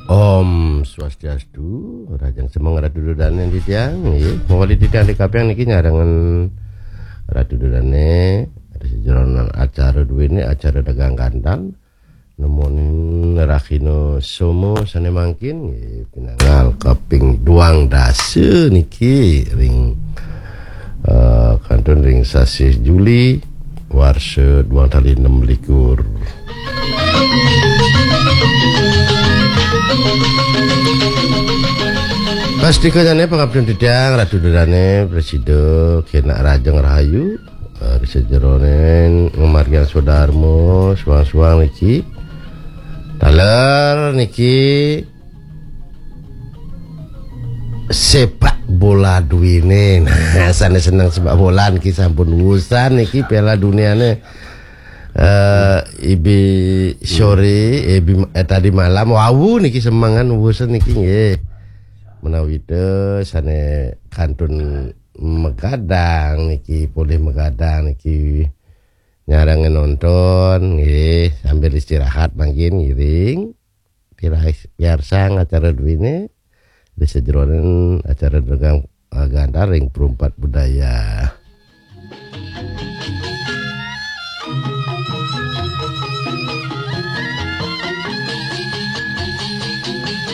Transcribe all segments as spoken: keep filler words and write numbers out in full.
Om Swastiastu, rahajeng semeng Ratu Dodane titiang, nggih. Mawali titiang di kapiang niki nyarengan Ratu Dodane, ri sajeroning acara duene, acara dagang gandal. Nemonin rahina Soma sane mangkin, nggih, pinanggal kaping duang dasa niki ring, eh, kantun ring sasih Juli, warsa duang tali enam likur. Pastika jane pangaptin titiang, Ratu Dodane, prasida kenak rahajeng rahayu, eh, ri sajeroning ngamargiang swadharma, suang-suang niki. Taler niki sepak bola duene. Nah, sane seneng sepak bola niki sampun wusan niki Piala Duniane. Eh, ibi sore, ibi, eh, tadi malam, wau niki semengan wusan niki nggih. Menawi te sane kantun magadang niki, polih magadang niki, nyarengin nonton nggih, sambil istirahat mangkin ngiring. Piarsang acara duene, ri sajeroning acara dagang, eh, gandal ring Perumpat Budaya.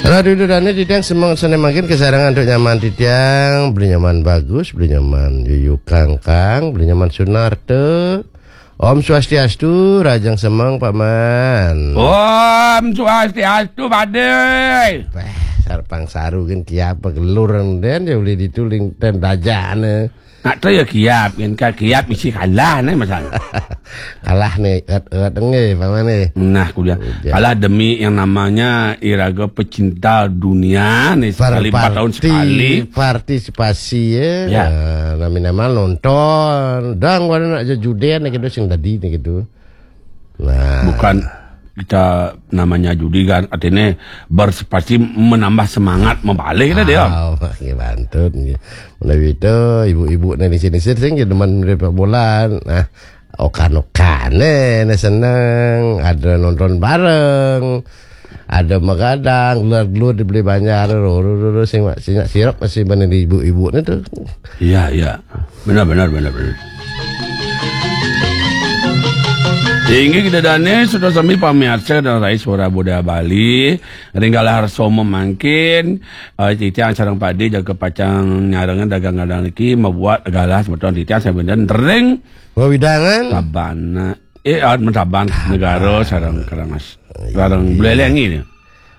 Ratu Dodane titiang semeng sane mangkin kasarengin antuk nyaman titiang, Beli Nyaman Bagus, Beli Nyaman Yuyu Kangkang, Beli Nyaman Sunarta. Om Swastiastu, rahajeng semeng, Pak Man. Om Swastiastu, Pade. Wah, sarpang saru kan kiap gelur den ya, boleh dituling ten dajane. Nak tu ya kiap, kan kiap isi kalah ne masalah. Kalah ne, et-et nggih, Pak Man nggih. Nah, kuliah. Udah. Kalah demi yang namanya iraga pecinta dunia nih, sekali empat tahun sekali. Partisipasi ya. Ya. Nah, nami-nama nonton. Dang wana nak judene gitu sing tadi nih gitu. Nah. Bukan kita namanya judi kan, artinya berpartisipasi menambah semangat membalik kita dia. Ah, nggih, bantun nggih. Menawi itu ibu-ibu nih di sini sering demen melihat bola. Nah, okan-okane nih seneng, ada nonton bareng, ada magadang, gelar-gelar dibeli banjar, ro, ro, ro, ro, sing, sing sirap masih mana di ibu-ibu nih tuh. Iya, iya. Benar, benar, benar, benar. Inggih, kita dane sudah sami pamiarsa dan rai suara Buddha Bali. Ring galah harsa mangkin, eh, titiang sareng Padi jaga pacang nyarengin dagang gandal niki, mabuat galah semeton titiang sampun ring wewidangan Sabana. Eh, ah, Saban negara sareng Karangas. Sareng Buleleng ini.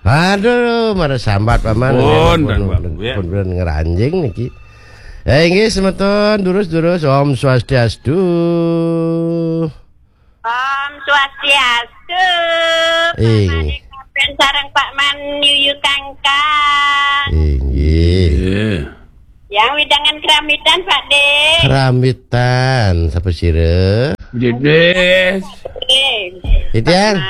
Aduh, mara sambat paman. Pun, pun, pun, pun, ya. Pun, pun ngeranjing niki. Eh, inggih semeton, durus-durus, Om Swastiastu. Om Swastiastu. Ing. Paman Ikapen sareng Pak Man Yuyu Kangkang. Inggih. Iya. Yang widangan keramitan, Pak De. Keramitan, sapa sira? Jedes. Oke. Titiang.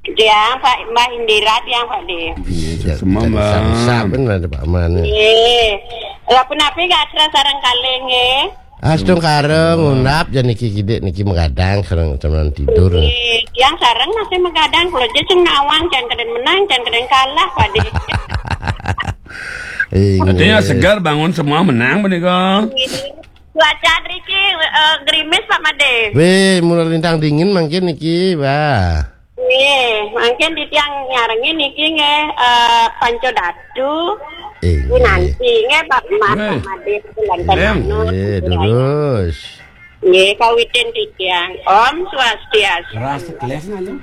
Tiang, Pak, Mbah Indira, tiang, Pak De. Iya, semua, Mbah. Sap-sap kan ada Pak Man. Iya. Lah, punapi gatra sareng kalih, nggih? Astungkara ngundap jan niki kidik niki magadang sareng temenan tidur. Nggih, tiang sareng masih magadang, kula aja sing nawang, jan keden menang, jan keden kalah, Pak De. Inggih. Artinya segar bangun semua menang, menika. Cuaca riki, eh, gerimis, Pak Made. Weh, mulai lintang dingin mangkin niki, wah. Nggih, mangkin titiang nyarengin niki nggih, eh, Panca Datu. Inggih. Winanti nggih, Pak Mas, Pak Made, Lanten Manut. Nggih, terus. Nggih, kawitin titiang. Om Swastiastu. Rasa kelas ngalih.